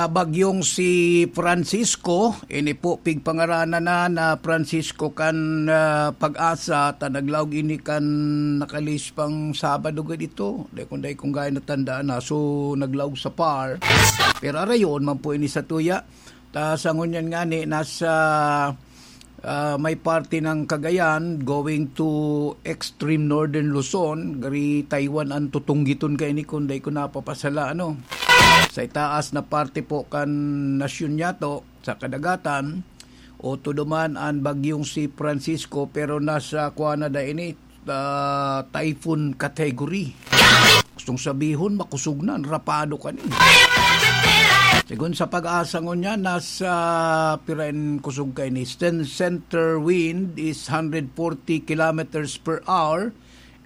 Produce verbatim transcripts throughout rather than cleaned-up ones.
Ah, bagyong si Francisco, ini po pigpangaranan na, na Francisco kan, ah, Pag-asa, ta naglaog ini kan nakalis pang Sabado gad ito. Dai kung dai kung gaya natandaan na. So, naglaog sa par. Pero arayon man po ini sa tuya. Ta sa ngunyan nga ni, nasa, ah, may parte ng Cagayan going to extreme northern Luzon. Gari Taiwan ang tutunggiton kaini kung dai ko napapasala, ano. Sa itaas na parte po kan nasyon niyato, sa kadagatan, o tuduman an bagyong si Francisco, pero nasa kuha na da ini, ah, typhoon category. Gustong sabihon, makusog na, rapado ka ni. Sigon sa Pag-asa ngunyan, nasa pirain kusog kaini. Cen-, center wind is hundred forty kilometers per hour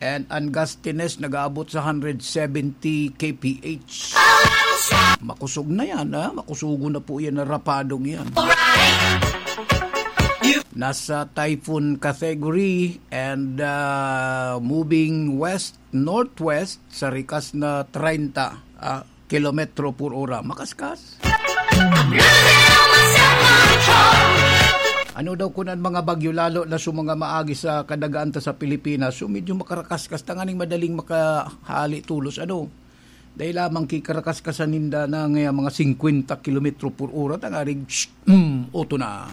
and an gustiness nag-aabot sa hundred seventy K P H. Makusog na yan, ha? Makusugo na po yan na rapadong yan. Nasa typhoon category and, ah, moving west-northwest sa rikas na treinta, ah, kilometro por ora. Makaskas. Ano daw kun an mga bagyo, lalo na sa mga maagi sa kadagaan ta sa Pilipinas, so medyo makarakaskas, tanganing madaling makahali tolos, ano? Dai lamang ki karakaskas ninda na nga mga singkwenta kilometro por ora, tangaring, shh, mm, oto na.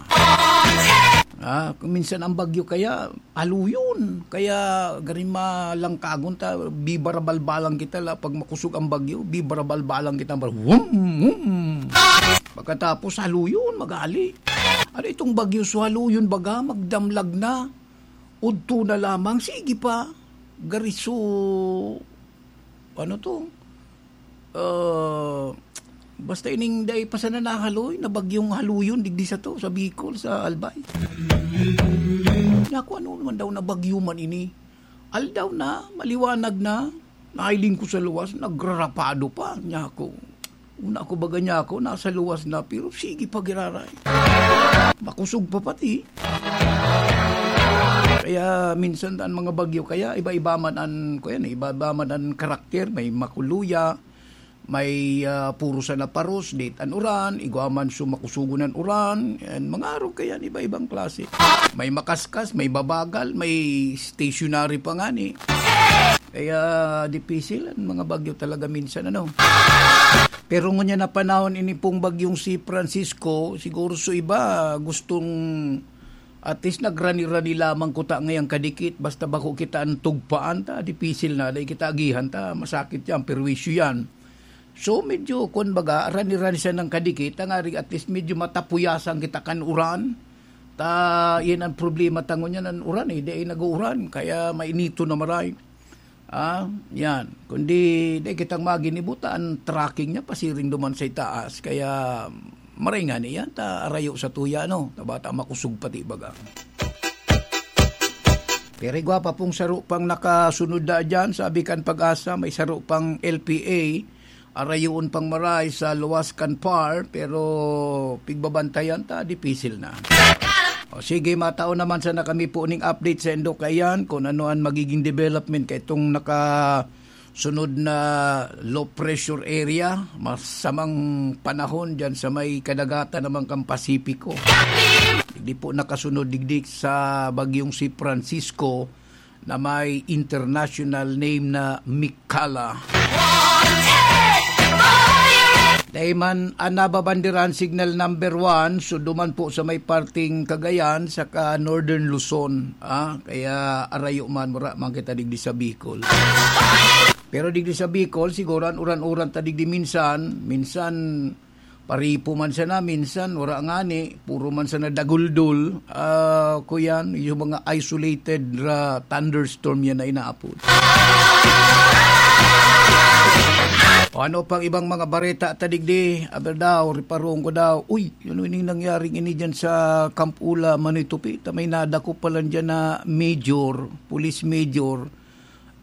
Ah, kung minsan ang bagyo kaya, haluyon. Kaya gari malangkagon ta, bibarabalbalan kita la pag makusog ang bagyo, bibarabalbalan kita, bar-, wum, wum. Pagkatapos, haluyon, magali. Ano itong bagyo? So, haluyon baga, magdamlag na. Udto na lamang, sige pa. Gari so, ano to? Ah, basta ining dai pa sana nahaloy, na bagyong haluyon digdi sato, sa Bicol, sa Albay. Naku, ano naman daw na bagyo man ini? Aldaw na, maliwanag na, nailing ko sa luwas, nagrarapado pa, niya ako. Una ako baga niya ako, nasa luwas na, pero sige pa giraray. Makusog pa pati. Kaya minsan an mga bagyo, kaya iba-iba man an, kuyan, iba-iba man an karakter, may makuluya, may, ah, puro sana paros, date an uran, igwa man so makusugon an uran, and mga arog kayan, iba-ibang klase. May makaskas, may babagal, may stationary pa ngani. Kaya dipisil an mga bagyo talaga minsan, ano. Pero ngunyan na panahon ini pong bagyong si Francisco, siguro so iba gustong at least nagrani-rani lamang kuta ngayang kadikit, basta bako kita an tugpaan ta, dipisil na, dai kita agihan ta, masakit yan, perwisyo yan. So, medyo, kun baga, rani-rani siya ng kadikit, tangaring at least medyo matapuyasan kita kan uran. Ta, yan ang problema ta ngunyan, an uran eh, di ay nag-uuran, kaya mainito na maray. Ah, yan. Kundi, di kitang maginibuta, ang tracking niya, pasiring duman sa itaas, kaya maray nga niyan, ta arayo sa tuya, no? Ta bata makusog pati baga. Pero igwa pa pong saro pang nakasunod na dyan, sabi kan Pag-asa, may saro pang L P A, arayoon pang maray sa luwas kan par, pero pigbabantayan ta, dipisil na. O sige, matao naman sana kami po ning update sa indo kaiyan, kung ano ang magiging development kay itong nakasunod na low pressure area, masamang panahon dyan sa may kadagatan naman kang Pasipiko. Hindi po nakasunod digdi sa bagyong si Francisco, na may international name na Mikala. Dai man an nababanderan signal number one, so duman po sa may parting Cagayan, saka Northern Luzon, ah, kaya arayo man, wala man kita digdi sa Bicol. Pero digdi sa Bicol, siguro an uran-uran ta digdi minsan, minsan paripo man sana, minsan wala ngani, puro man sana daguldol. Ah, kuyan, yung mga isolated ra thunderstorm yan na inaapod. O ano pang ibang mga bareta ta digdi? Aber daw, riparon ko daw. Uy, ano ining nangyaring ini dyan sa Camp Ula, Manitupi? Ta may nadako pa lang dyan na major, police major.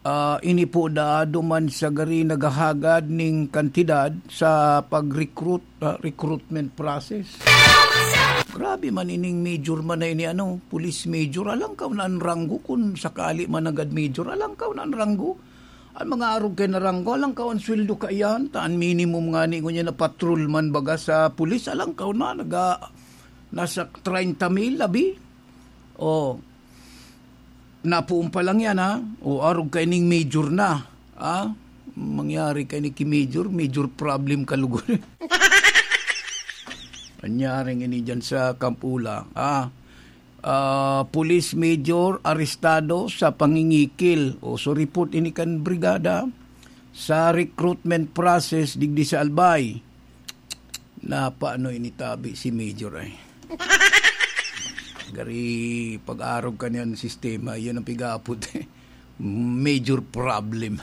Ah, ini po daado man sa gari naghahagad ning kantidad sa pag-recruit, ah, recruitment process. Grabe man ining major man na ini, ano, police major. Alangkaw na an ranggo kun sakali man nanggad major. Alangkaw na an ranggo. Ang mga arog kay naranggo, alang kaon sweldo kaiyan, ta an minimum nga ni ngunyan na patrolman baga sa pulis, alang kaon na, naga, nasa treinta mil, labi. O, napuon pa lang yan, ha? O, arog kay ning major na, ha? Mangyari kay ni ki major, major problem ka lugod. Nangyari ini dyan sa Kampula, ha? Ah, police major arestado sa pangingikil. O, so report ini kan brigada sa recruitment process digdi sa Albay. Napaano ini tabi si major ay? Gari pag-arog ka niyan sistema, yun ang pigapot eh. Major problem.